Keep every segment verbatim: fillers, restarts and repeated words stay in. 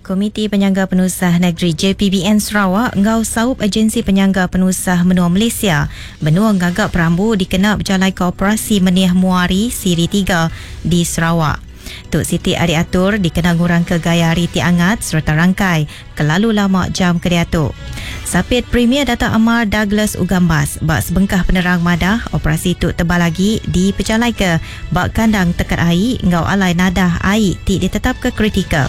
Komiti Penyangga Penusah Negeri J P B N Sarawak ngau Saup Agensi Penyangga Penusah Menua Malaysia benua ngagak perambu dikena berjalai ke operasi Meniah Muari Siri tiga di Sarawak. Tuk Siti Ari Atur dikena ngurang ke gaya hari ti angat serta rangkai kelalu lama jam kediatu. Sapit Premier Dato' Amar Douglas Ugambas bak sebengkah penerang madah operasi tuk tebal lagi dipejalai ke bak kandang tekat air ngau alai nadah air ti ditetap ke kritikal.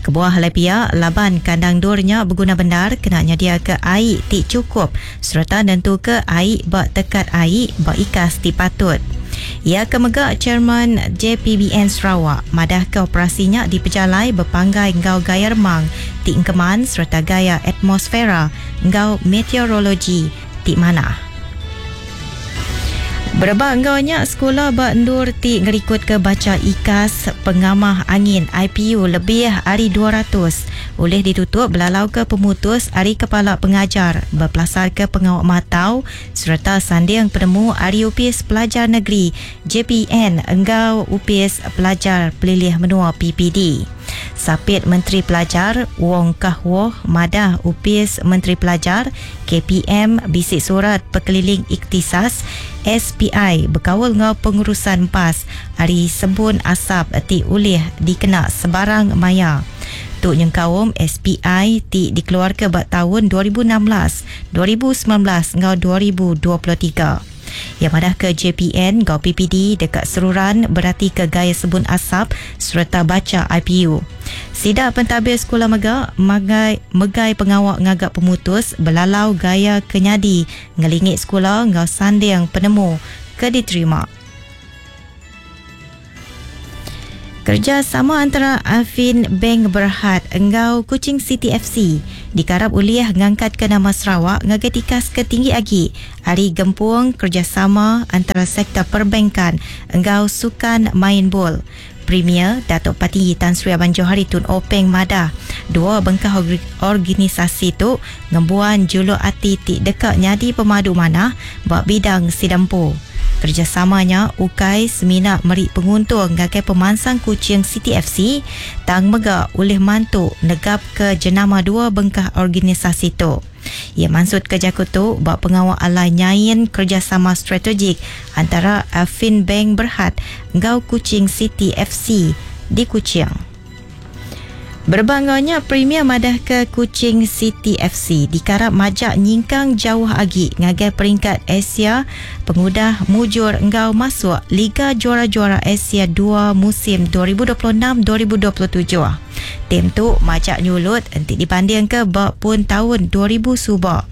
Kebuah lepia laban kandang durnya berguna bendar kena nyadia ke air ti cukup serta nentu ke air bak tekat air bak ikas ti patut. Ia kemega Chairman J P B N Sarawak madah ke operasinya dipejalai berpanggai ngau gaya remang ti engkeman serta gaya atmosfera ngau meteorologi ti manah. Berebak ngau nya sekolah ba endur ti ngerikut ke baca ikas pengamah angin I P U lebih hari dua ratus oleh ditutup belalau ke pemutus hari kepala pengajar berpelasar ke pengawak matau serta sanding penemu hari U P S Pelajar Negeri J P N enggau U P S Pelajar Pelilih Menua P P D. Sapit Menteri Pelajar Wong Kah Woh madah U P S Menteri Pelajar K P M bisik surat pekeliling iktisas S P I berkawal ngau pengurusan P A S hari sebun asap ti ulih dikena sebarang maya. Tu nyengkaum S P I ti dikeluarkan bak tahun dua ribu enam belas, dua ribu sembilan belas ngau dua ribu dua puluh tiga. Yang madah ke J P N ngau P P D dekat seruran berarti ke gaya sebun asap serta baca I P U. Sidak pentadbir sekolah mega magai, megai pengawak ngagak pemutus belalau gaya kenyadi ngelingit sekolah ngau sanding penemu ke diterima. Kerjasama antara Affin Bank Berhad enggau Kuching City F C dikarap uliah ngangkat ke nama Sarawak ngagai tikas ketinggi agi hari gempung kerjasama antara sektor perbankan enggau sukan main bol. Premier Datuk Patinggi Tan Sri Abang Johari Tun Openg Madah dua bengkah organisasi tu ngembuan juluk ati ti dekat nyadi pemadu manah bak bidang sidampu. Kerjasamanya ukai semina meri penguntung ngagai pemansang Kuching City F C tang mega oleh mantu negap ke jenama dua bengkah organisasi tu. Ia maksud ke jaku tu bak pengawal alai nyain kerjasama strategik antara Affin Bank Berhad enggau Kuching City F C di Kuching. Berbanganya Premier madah ke Kuching City F C dikarap majak nyingkang jauh agi ngagai peringkat Asia pengudah mujur enggau masuk Liga Juara-Juara Asia dua musim dua ribu dua puluh enam dua ribu dua puluh tujuh. Tim tu majak nyulut enti dibanding ke bak pun tahun dua ribu subak.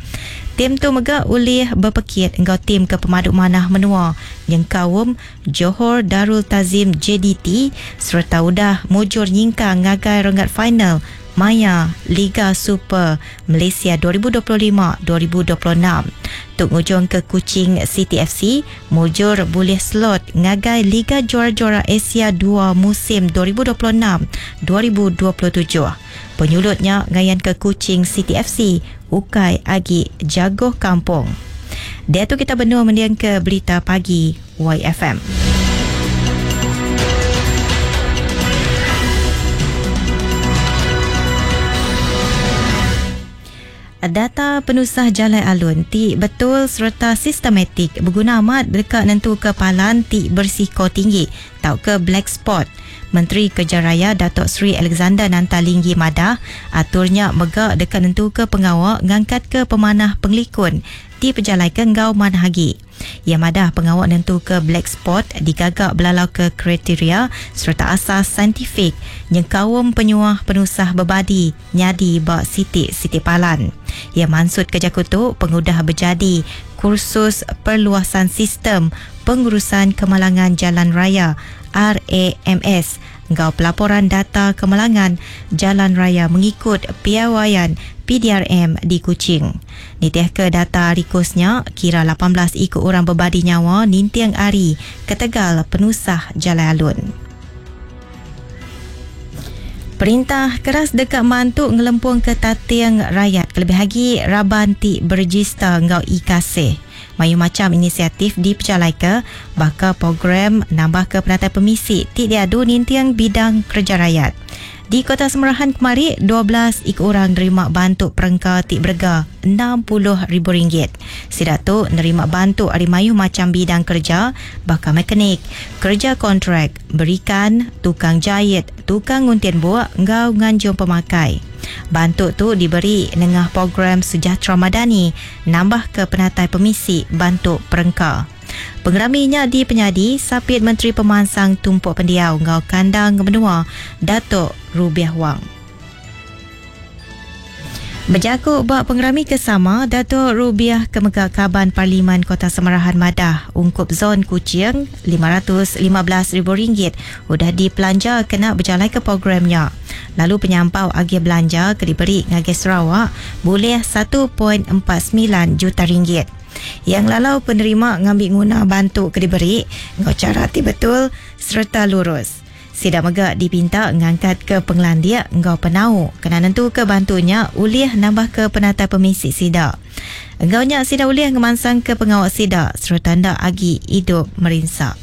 Tim tu mega ulih berpekit enggau tim ke pemaduk manah menua nyengkaum Johor Darul Tazim J D T serta udah mujur nyingkang ngagai renggat final Maya Liga Super Malaysia dua ribu dua puluh lima dua ribu dua puluh enam. Tuk ngujung ke Kuching City F C mujur boleh slot ngagai Liga Juara-Juara Asia dua musim dua ribu dua puluh enam dua ribu dua puluh tujuh. Penyulutnya ngayan ke Kuching City F C ukai agi jagoh kampung. Dia tu kita benua mendiang ke Berita Pagi Y F M. Data penusah Jalai Alun ti betul serta sistematik berguna amat dekat nentu kepalan ti bersiko tinggi tau ke black spot. Menteri Kerja Raya Datuk Seri Alexander Nanta Linggi madah aturnya mega dekat nentu ke pengawak ngangkat ke pemanah pengelikun di pejalai ke ngau manah agi. Ia madah pengawak nentu ke black spot digagak belalau ke kriteria serta asas saintifik nyengkaum penyuah penusah bebadi nyadi bak sitik-sitik palan. Ia maksud kerja kutu pengudah berjadi kursus perluasan sistem pengurusan kemalangan jalan raya R A M S engkau pelaporan data kemalangan jalan raya mengikut piawaian P D R M di Kuching. Nitih ke data rikusnya, kira lapan belas ikut orang berbadi nyawa nintiang ari ketegal penusah jalan alun. Perintah keras dekat mantuk ngelempung ke tatiang rakyat kelebih lagi raban ti berjista ngau I K C. Mayu macam inisiatif dipercalai ke bakal program nambah ke penatai pemisi ti diadu nintiang bidang kerja rakyat. Di Kota Semerahan kemari, dua belas iku orang nerima bantu perengka ti berega enam puluh ribu ringgit. Sida tu nerima bantu ari mayuh macam bidang kerja baka mekanik, kerja kontrak, berikan, tukang jahit, tukang nguntin buak enggau nganjung pemakai. Bantu tu diberi nengah program Sejahtera Madani nambah ke penatai pemisi bantu perengka. Pengeraminya di penyadi Sapit Menteri Pemansang Tumpuk Pendiau enggau Kandang Menua Datuk Rubiah Wang. Berjaku ba pengerami kesama, Datuk Rubiah Kemega Kaban Parlimen Kota Semerahan Madah ungkup zon Kuching lima ratus lima belas ribu ringgit udah dipelanja kena berjalan ke programnya. Lalu penyampau agi belanja ke diberi ngagai Sarawak boleh satu perpuluhan empat sembilan juta ringgit. Yang lalau penerima ngambil guna bantu ke diberi ngau cara ti betul serta lurus. Sida mega dipinta ngangkat ke penglandia ngau penau kena nentu ke bantunya ulih nambah ke penata pemisi sida. Enggau nya sida ulih ngemansang ke pengawal sida serta ndak agi hidup merinsa.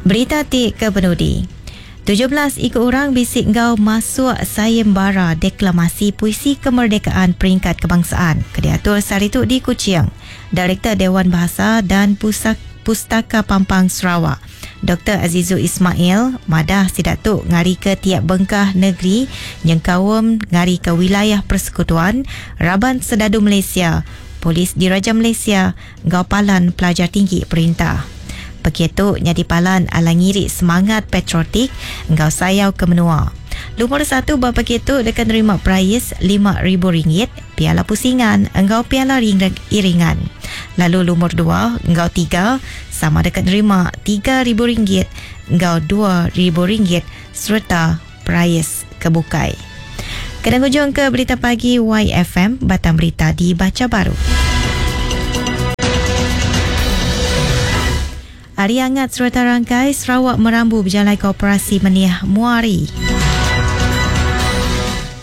Berita ti ke penudi. tujuh belas ikut orang bisik ngau masuk sayembara deklamasi puisi kemerdekaan peringkat kebangsaan. Kediatur sehari tu di Kuching. Direktur Dewan Bahasa dan Pusat Pustaka Pampang Sarawak, Doktor Azizul Ismail, madah sidak tu ngari ke tiap bengkah negeri nyengkaum ngari ke wilayah persekutuan, Raban Sedadu Malaysia, Polis Diraja Malaysia, ngau Palan Pelajar Tinggi Perintah. Begitu nyadi palan ala ngiri semangat patriotik ngau sayau ke menua. Lumur satu bab begitu dekat nerima prais lima ribu ringgit, piala pusingan engau piala iringan. Lalu lumur dua engau tiga sama dekat nerima tiga ribu ringgit engau dua ribu ringgit serta prais kebukai. Kena hujung ke berita pagi Y F M, batang berita dibaca baru. Hari hangat serta rangkai Sarawak merambu berjalan koperasi Meniah Muari.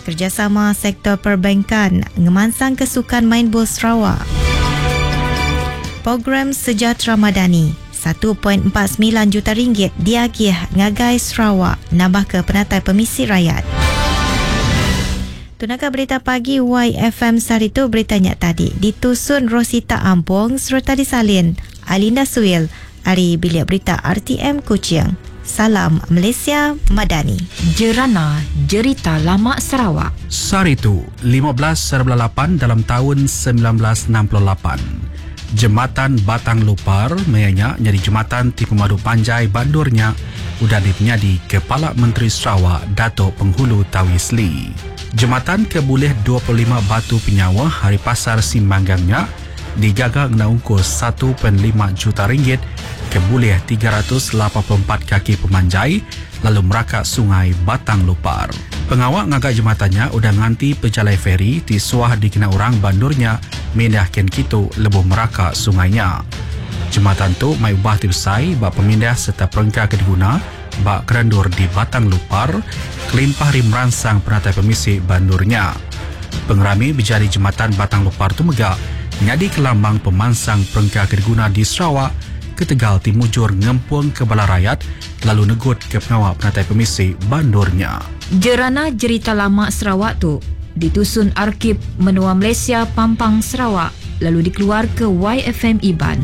Kerjasama sektor perbankan ngemansang kesukan main bol Sarawak. Program Sejahtera Madani satu perpuluhan empat sembilan juta ringgit diagih ngagai Sarawak nambah ke penatai pemisi rakyat. Tunaka berita pagi Y F M sehari tu beritanya tadi ditusun Rosita Ampong serta disalin Alinda Suil ari Bilik Berita R T M Kuching. Salam Malaysia Madani. Jerana Jerita Lama Sarawak. Sehari tu lima belas seribu lapan dalam tahun sembilan belas enam puluh lapan. Jembatan Batang Lupar mayanya jadi jembatan ti pemadu panjai bandurnya udah dipenyadi Kepala Menteri Sarawak Datuk Penghulu Tawi Sli. Jembatan ke boleh dua puluh lima batu penyawa hari pasar Simbanggangnya digaga ngena ungkus satu perpuluhan lima juta ringgit ke boleh tiga ratus lapan puluh empat kaki pemanjai lalu meraka sungai Batang Lupar. Pengawak ngagak jembatannya udah nganti pejalai feri ti suah dikena orang bandurnya mindah ken kitu lebuh meraka sungainya. Jembatan tu mai ubah ti besai bak pemindah serta perengka ke diguna bak kerendur di Batang Lupar kelimpah ri meransang penatai pemisi bandurnya. Pengerami berjadi jembatan Batang Lupar tu megak nyadi kelambang pemansang perengka ke diguna di Sarawak ketegal timujur ngempung ke bala rakyat lalu negut ke pengawal penatai pemisi bandurnya. Jerana Jerita Lama Sarawak tu ditusun Arkib Menua Malaysia Pampang Sarawak lalu dikeluar ke Y F M Iban.